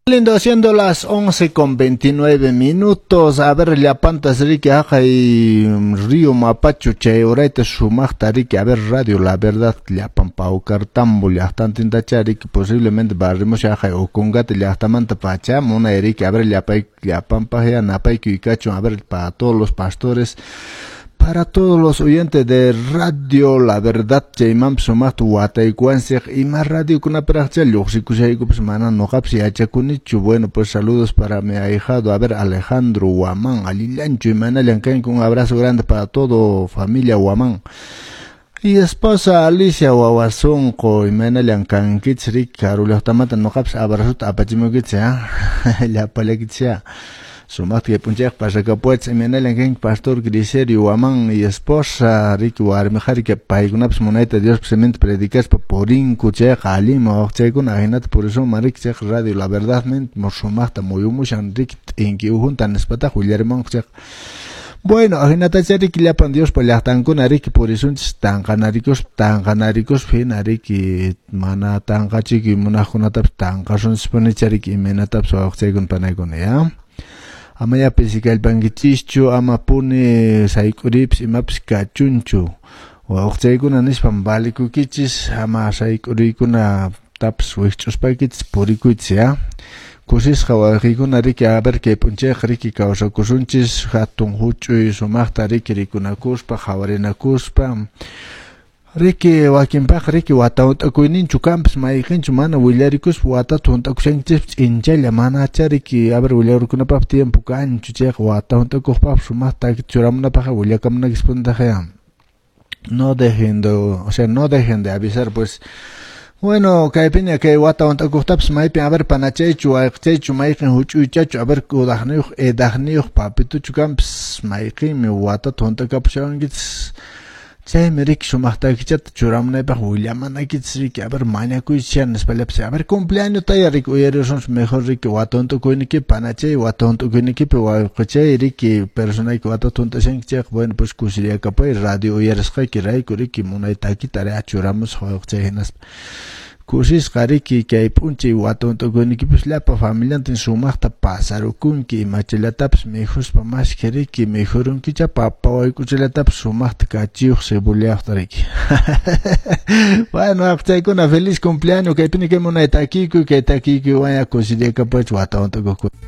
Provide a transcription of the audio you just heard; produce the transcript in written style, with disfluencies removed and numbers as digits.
Lindo, siendo las 11:29. A ver, llapantas riki haqay Río Mapacho chay urayta sumaqta riki. A ver, radio La Verdad llapan Paucartambo llaqtantintacha riki, posiblemente barrimus haqay Ocongate llaqtamanta pacha munay riki. A ver, llapay llapanpaq ya napaykuy kachun. A ver, para todos los pastores, para todos los oyentes de Radio La Verdad, chaymanpas sumaqta wataykuwanchik. Ima radiokunapiraqcha lluqsikushaykupas, mana nuqapas yachakunichu. Bueno, pues saludos para mi ahijado, a ver, Alejandro Guamán, allillanchu, imaynallan kanki. Un abrazo grande para todo familia Guamán y esposa Alicia wawasunqu, imaynallan kankichik riki. Karu llaqtamanta nuqapas abrazota apachimuykichik, llapallakichik sumaqta kay p'unchayqa pasakapuwachis. Imaynallan kanki, pastor Griserio Guamán y esposa riki, warmi qhari, paykunapas munayta Diospa siminta predicaspa purinku, chayqa allinmi wawqichaykuna, ahinata purisunman riki. Chayqa Radio La Verdad sumaqta muyumushan riki, t'inki uhunta nispataq willarimunku chayqa. Bueno, ahinatacha riki llapan Diospa llaqtankuna riki purisunchis tanqanarikuspa, tanqanarikuspa hina riki, mana tanqachikuy munaqkunatapas tanqasunchispunicha riki, imaynatapas wawqichaykuna panaykuna ya. Amaya pisi kallpankichischu, ama puni sayk'uriypis imapas kachunchu. Wawqichaykuna nispam valikukichis, ama sayk'uriykunatapas wikch'uspaykichis purikuychis ya. Kusisqa wawqiykuna riki, a ver, kay p'unchayqa riki kawsakusunchis hatun huch'uy sumaqta riki, rikunakuspa, qhawarinakuspa riki. Wakinpaq riki wata hunt'akuyninchu kanpas, mayqinchu mana willarikuspa watata hunt'akushankichispas ch'inchalla, manacha riki, a ver, willarikunapaq tiempo kanchu. Chayqa wata hunt'akuqpaqpas sumaqta churamunapaqqa willakamunaykispuntaqa. No dejen de, o sea, no dejen de avisar, pues. Bueno, kaypiña kay wata hunt'akuqtapas maypin, a ver, panachaychu, wayqichaychu, mayqin huch'uychachu, a ver, kudaqniyuq, edaqniyuq papituchu kanpas, mayqinmi watata hunt'akapushawankichis. Chaymi riki sumaq takichata churamunaypaq willamanaykichis riki, a ver, mañakuychis nispallapas. A ver, cumpleaños taya riki uyarisunchis mejor riki, wata hunt'akuynikipi panachay, wata hunt'akuynikipi wayqichay riki, personayki watata hunt'ashanki chayqa, bueno, pues kusiriyakapay radio uyarisqayki rayku riki, munay takita churamusaq wayqichay, hinaspa kusisqa riki kay p'unchay wata hunt'akuynikipas llapa familiantin sumaqta pasarukunki, imachallatapis mikhuspa mashkha riki, mikhurunkicha papa wayk'uchallatapis sumaqta kachiyuq cebollayuqta riki. Bueno, wawqichaykuna, feliz cumpleaños. Kaypini kay munay takiykuy, kay takiykuywan kusiriyakapuychis wata hunt'akuqkuna.